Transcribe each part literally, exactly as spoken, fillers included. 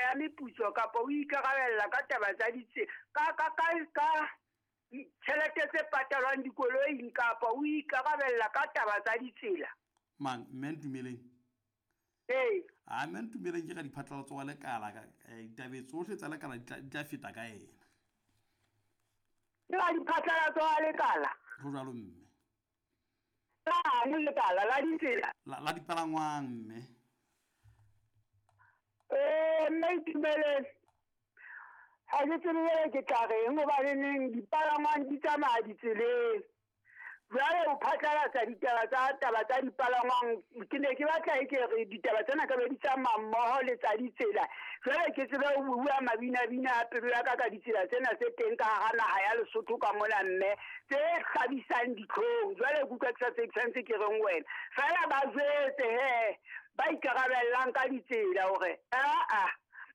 ya meputso kapa o ikarabella ka taba tsa ditse ka ka ka ka tjhelete tse patalwang dikoloing kapa o ikarabella ka taba tsa ditsela? Mang mme Ntumeleng? Ee. A mme Ntumeleng ke ka diphatlalatso wa lekala ka ditabe tsohle tsa lekala di tla di tla feta ka yena. Ke ka diphatlalatso wa lekala? Ho jwalo mme. Lang lekala la ditsela? La la dipalangwang mme. Eh mme Ntumeleng, ha ke tsebe jwale ke tla reng hobaneneng dipalangwang di tsamaya ditseleng. Jwale o phatlalatsa ditaba tsa taba tsa dipalangwang, ke ne ke batla e ke re ditaba tsena ka be di tsamaya mmoho le tsa ditsela. Jwale ke tsebe ho bua mabinabina a pelo ya ka ka ditsela tsena tse teng ka hara naha ya Lesotho ka mona mme, tse hlabisang ditlhong. Jwale ke utlwa ke sa tsebe ke santse ke reng wena. Feela ba jwetse he ba ikarabellang ka ditsela hore aa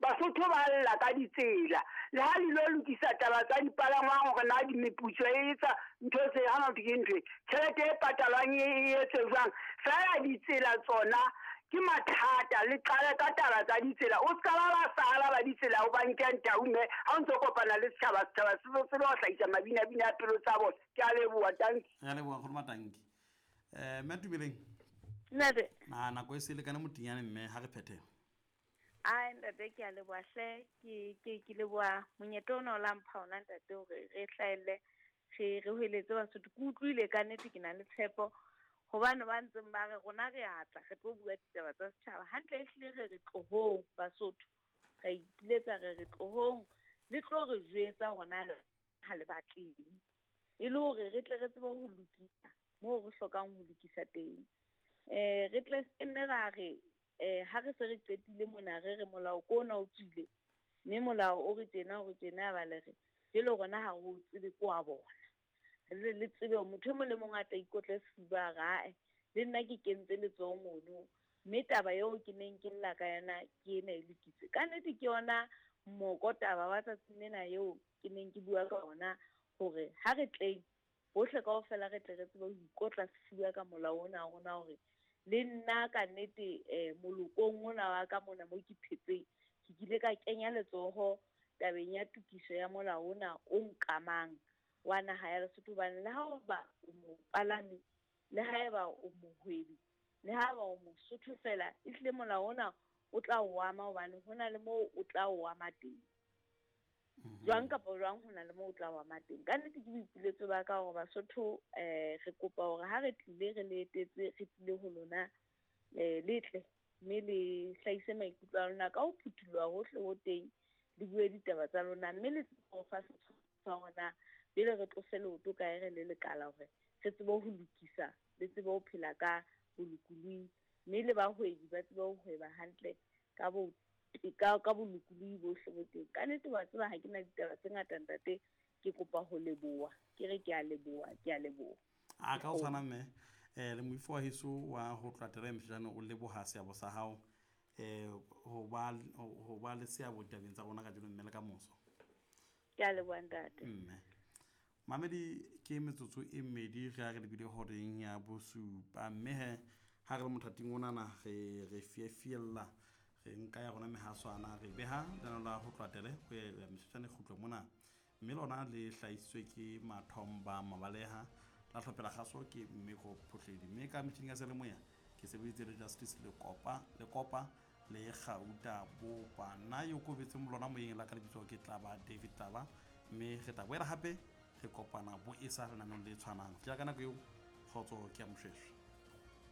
Basotho ba lla ka ditsela. Le ha le lo lokisa taba tsa dipalangwang hore na di meputso e etsa ntho tse hana ho ke ntho e, tjhelete e patalwang e e etse jwang. Feela ditsela tsona ke mathata, le qale ka taba tsa ditsela. O ska ba ba sala ba ditsela o ba nke ntau mme ha o ntso kopana le setjhaba, setjhaba se tsebe ho hlahisa mabinabina a pelo tsa bona. Ke a leboha, tanki. Re a leboha nkgono Matanki. Eh mme Ntumeleng. Ntate. Na nako e se lekane motinyane mme ha re phethe. Ai ntate ke a leboha hle, ke ke ke leboha monyetla ona o la mpha ona ntate hore re hlahelle re re hweletse Basotho. Ke utlwile ka nnete ke na le tshepo hobane ba ntseng ba re rona re atla re tlo bua ditaba tsa setjhaba hantle, ehlile re re tlohong Basotho, re ipiletsa re re tlohong le tlo re jwetsa hore na ha le batleng, e le hore re tle re tsebe ho lokisa moo re hlokang ho lokisa teng. Eh re tle nne ra re eh ha re se re qetile mona re re molao ko ona o tswile mme molao o re tjena o re tjena ba le re jele rona ha re o tsebe ko wa bona. Re le tsebe motho e mong le mong a tla ikotle sefuba rae le nna ke kentse letsoho mono mme taba eo ke neng ke lla ka yona ke ena e lokisitse. Ka nnete ke yona moko taba wa tsatsing lena eo ke neng ke bua ka ona hore ha re tleng bohle kaofela re tle re tsebe ho ikotla sefuba ka molao ona wa rona hore le nna ka nnete eh molokong ona wa ka mona mo ke phetseng ke kile ka kenya letsoho tabeng ya tokiso ya molao ona o nkamang wa naha ya Lesotho. Hobane le ha o ba o mopalami, le haeba o mohwebi, le haeba o Mosotho fela, ehlile molao ona o tla o ama hobane hona le moo o tla o ama teng. Jwang kapa jwang hona le moo o tla o ama teng. Ka nnete ke boipiletso ba ka hore Basotho eh re kopa hore ha re tlile re le etetse, re tlile ho lona eh le tle mme le hlahise maikutlo a lona ka ho phuthuloha hohle ho teng, le bue ditaba tsa lona mme le tsebe ho fa setshwantsho sa hore pele re tlose leoto kae re le lekala hore re tsebe ho lokisa, le tsebe ho phela ka bolokolohi mme le bahwebi ba tsebe ho hweba hantle ka bo ka ka bolokolohi bohle bo teng. Ka nnete wa tseba ha ke na ditaba tse ngata ntate, ke kopa ho leboha, ke re ke a leboha, ke a leboha. A ka o tshwana mme eh le moifo wa heso wa ho tloha Terem jane o leboha seabo sa hao eh ho ba ho ba le seabo ditabeng tsa rona kajeno mme le ka moso. Ke a leboha ntate. Mme mamedi ke metsotso e mmedi re a re lebile horeng ya bosupa mme he ha re le mothating onana re re fiefiella re nka ya rona mehaswana re beha lenaneo la ho tloha Tele ho ya metsotswana e kgutlo mona mme lona le hlahisitswe ke Mathomba Mabaleha la hlophela kgaso ke Mmeko Phohledi mme ka metjhining ya seyalemoya ke sebeditse le Justice Lekopa Lekopa le Gauta Bopa. Nna yo kobetseng lona moyeng la ka lebitso ke Tlaba David Tlaba mme re tla boela hape re kopana bo e sa lenaneong le tshwanang. Ke ya ka nako eo kgotso ke ya Moshweshwe.